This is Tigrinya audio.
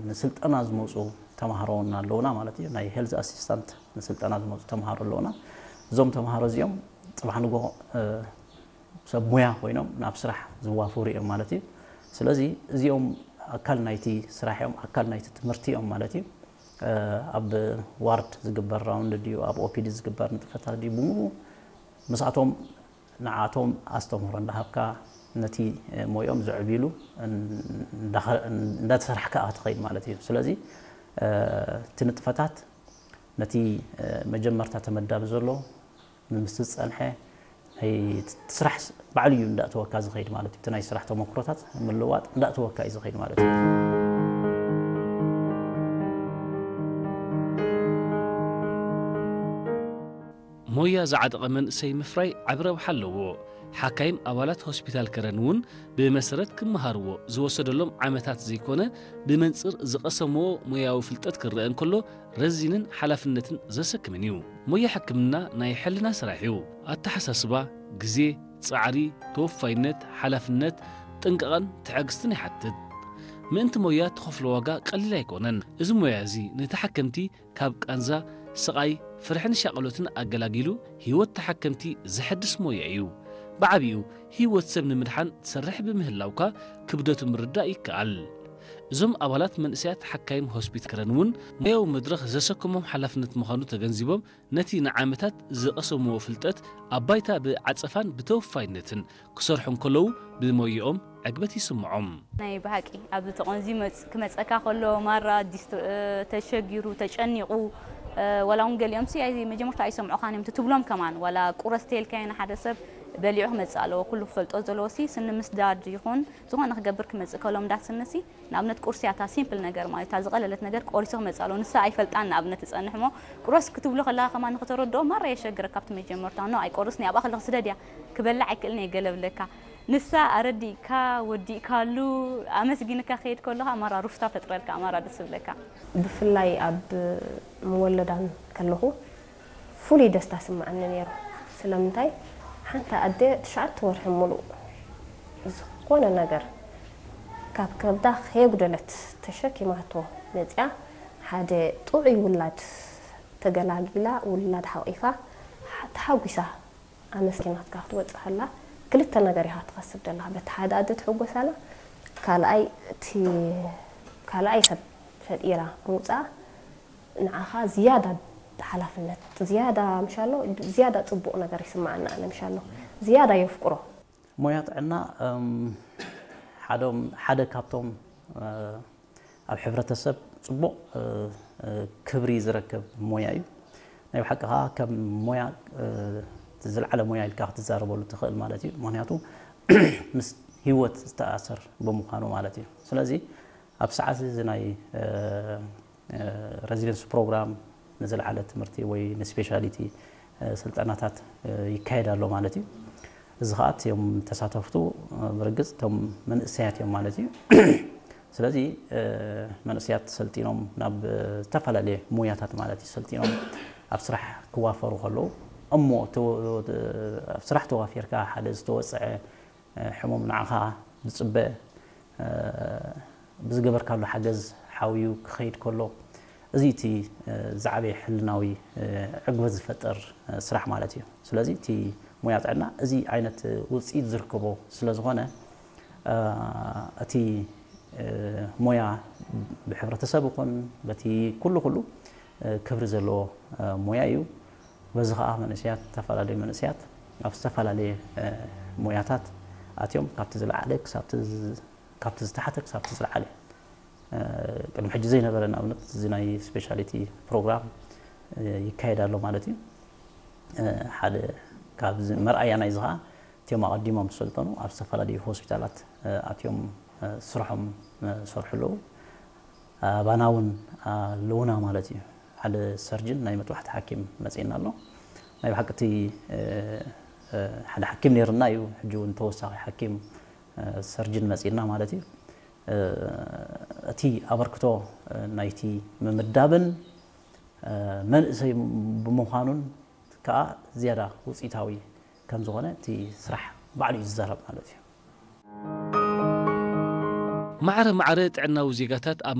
ንስልጠና ዝመፁ ተምሃሮ እውን ኣለውና ማለት እዩ። ናይ ሄልዝ ኣሲስታንት ንስልጠና ዝመፁ ተምሃሮ ኣለውና። እዞም ተምሃሮ እዚኦም ፅባሕ ንጎ ሰብ ሙያ ኮይኖም ናብ ስራሕ ዝዋፈሩ እዮም ማለት እዩ። ስለዚ እዚኦም ኣካል ናይቲ ስራሕ እዮም፣ ኣካል ናይቲ ትምህርቲ እዮም ማለት እዩ። ኣብ ዋርድ ዝግበር ራውንድ ድዩ፣ ኣብ ኦፒዲ ዝግበር ንጥፈታት ድዩ፣ ብምሉ ምስኣቶም ንዓቶም ኣስተምህሮ እንዳሃብካ ነቲ ሞይኦም ዘዕብሉ እንዳተሰርሕካ ኢኻ ትኸይድ ማለት እዩ። ስለዚ እቲ ንጥፈታት ነቲ መጀመርታ ተመዳቢ ዘሎ ምስ ዝጸንሐ ናይ ስራሕ ባዕሉ እዩ እንዳእተወካ ዝኸይድ ማለት እዩ። እቲ ናይ ስራሕ ተመክሮታት ምልዋጥ እንዳእተወካ እዩ ዝኸይድ ማለት እዩ። ሞያ ዝዓጠቐ መንእሰይ ምፍራይ ዓቢ ረብሓ ኣለዎ። ሓካይም ኣባላት ሆስፒታል ከረን እውን ብመሰረት ክመሃርዎ ዝወሰደሎም ዓመታት ዘይኮነ ብመንጽር ዝቐሰምዎ ሞያዊ ፍልጠት ክረአ እንከሎ ረዚንን ሓላፍነትን ዘሰክምን እዩ። ሞያ ሕክምና ናይ ሕልና ስራሕ እዩ። ኣተሓሳስባ፣ ግዜ፣ ጻዕሪ፣ ተወፋይነት፣ ሓላፍነት፣ ጥንቃቐን ትዕግስትን ይሓትት። ምእንቲ ሞያ ትኸፍሎ ዋጋ ቀሊል ኣይኮነን። እዚ ሞያ እዚ ንተሓከምቲ ካብ ቃንዛ፣ ስቓይ፣ ፍርሕን ሻቐሎትን ኣገላጊሉ ህይወት ተሓከምቲ ዘሐድስ ሞያ እዩ። ብዓቢኡ ህይወት ሰብ ንምድሓን ትሰርሕ ብምህላውካ ክብደቱ ምርዳእ ይከኣል። እዞም ኣባላት መንእሰያት ሓካይም ሆስፒታል ከረን እውን ሞያዊ መድረኽ ዘሰከሞም ሓላፍነት ምዃኑ ተገንዚቦም ነቲ ንዓመታት ዝቐሰምዎ ፍልጠት ኣብ ባይታ ብዓጸፋን ብተወፋይነትን ክሰርሑ እንከለዉ ብሞይኦም ዕግበት ይስምዖም። ናይ ብሓቂ ኣብዚ ተቖንዚ ክመፀካ ከሎ ማራ ዲስ ተሸጊሩ ተጨኒቑ ወላ እውን ገሊኦም ሲ መጀመርታ ኣይሰምዑኻን እዮም ትብሎም ከማን ዋላ ቁረስ ተልካዮ ንሓደ ሰብ በሊዑ ክመፅእ ኣለዎ ኩሉ ክፈልጦ ዘለዎ ሲ ስኒ ምስዳድ ይኹን ዝኾነ ክገብር ክመፅእ ከሎ እንዳ ስኒ ሲ ንኣብነት ቁርሲ እያ እታ ሲምፕል ነገር ማለት እታ ዝቐለለት ነገር ቆሪሱ ክመፅእ ኣለዎ ንሳ ኣይፈልጣን ንኣብነት ትፀንሕ እሞ ቁረስ ክትብሎ ከለኻ ከማን ንክተረድኦ ማራ የሸግረካ ኣብቲ መጀመርታ no ኣይቆርስን እየ ኣብኣ ከለኹ ስደድ እያ ክበልዕ ኣይክእልን እየ ገለ ብለካ ንሳ ኣረዲእካ ወዲእካሉ ኣመስጊንካ ክሄድ ከሎ ከኣ ማራ ሩፍታ ፈጥረልካ ማራ ደስ ዝብለካ። ብፍላይ ኣብ ምወለዳን ከለኹ ፍሉይ ደስታ ስምዓኒ ነይሩ። ስለምንታይ ሓንቲ ኣደ ትሽዓተ ወርሒ ሙሉእ ዝኾነ ነገር ካብ ከብዳ ከየጉደለት ተሸኪማቶ መጺኣ ሓደ ጥዑይ ውላድ ተገላጊላ ውላድ ሓቒፋ ተሓጒሳ ኣመስጊናትካ ክትወጽእ ከላ ክልተ ነገር ኢኻ ትኸስብ ዘለኻ። በቲ ሓደ ኣደ ትሕጎስ ኣላ፣ ካልኣይ እቲ ካልኣይ ሰብ ፈጢራ ምውጻኣ ንዓኻ ዝያዳ ሓላፍነት ዝያዳ ምሻሎ ዝያዳ ጽቡቕ ነገር ይስምዓና ኣነ ምሻሎ ዝያዳ የፍቅሮ። ሞያ ጥዕና ሓደ ካብቶም ኣብ ሕብረተሰብ ፅቡቕ ክብሪ ዝረክብ ሞያ እዩ። ናይ ብሓቂ ከዓ ከም ሞያ ዝለዓለ ሞያ ኢልካ ክትዛረበሉ ትኽእል ማለት እዩ። ምክንያቱ ምስ ህይወት ዝተኣሰር ብምዃኑ ማለት እዩ። ስለዚ ኣብ ሰዓት እዚ ናይ resilience program ንዝለዓለ ትምህርቲ ወይ ንስፔሻሊቲ ስልጠናታት ይካየድ ኣሎ ማለት እዩ። እዚ ከዓ እቲኦም ተሳተፍቱ ብርግፅ እቶም መንእሰያት እዮም ማለት እዩ። ስለዚ መንእሰያት ሰልጢኖም ናብ ዝተፈላለየ ሙያታት ማለት እዩ ሰልጢኖም ኣብ ስራሕ ክዋፈሩ ከለዉ እሞ ኣብ ስራሕ ተዋፊርካ ሓደ ዝተወፀዐ ሕሙም ንዓኻ ዝፅበ ብዝገበርካሉ ሓገዝ ሓውዩ ክኸይድ ከሎ እዚ እቲ ዝዓበየ ሕልናዊ ዕግበት ዝፈጥር ስራሕ ማለት እዩ። ስለዚ እቲ ሞያ ጥዕና እዚ ዓይነት ውፅኢት ዝርከቦ ስለ ዝኾነ እቲ ሞያ ብሕብረተሰብ ይኹን በቲ ኩሉ ኩሉ ክብሪ ዘለዎ ሞያ እዩ። በዚ ከዓ መንእሰያት ዝተፈላለዩ መንእሰያት ኣብ ዝተፈላለየ ሞያታት ኣትዮም ካብቲ ዝለዓለ ክሳብ ካብቲ ዝተሓተ ክሳብቲ ዝለዓለ ቅድሚ ሕጂ ዘይነበረ ንኣብነት እዚ ናይ ስፔሻሊቲ ፕሮግራም ይካየድ ኣሎ ማለት እዩ። ሓደ ካብዚ መርኣያ ናይዚ ከዓ እቲኦም ኣቐዲሞም ዝሰልጠኑ ኣብ ዝተፈላለዩ ሆስፒታላት ኣትዮም ስርሖም ሰርሑ ኣለዉ። ኣባና እውን ኣለዉና ማለት እዩ። ሓደ ሰርጅን ናይ መጥባሕቲ ሓኪም መፅእና ኣሎ። ናይ ብሓቂ እቲ ሓደ ሓኪም ነይርና እዩ። ሕጂ እውን ተወሳኺ ሓኪም ሰርጅን መፅእና ማለት እዩ። እቲ ኣበርክቶ ናይቲ ምምዳብን መንእሰይ ብምዃኑን ከዓ ዝያዳ ውፅኢታዊ ከም ዝኾነ እቲ ስራሕ ባዕሉ እዩ ዝዛረብ ማለት እዩ። ማዕረ ማዕረ ጥዕናዊ ዜጋታት ኣብ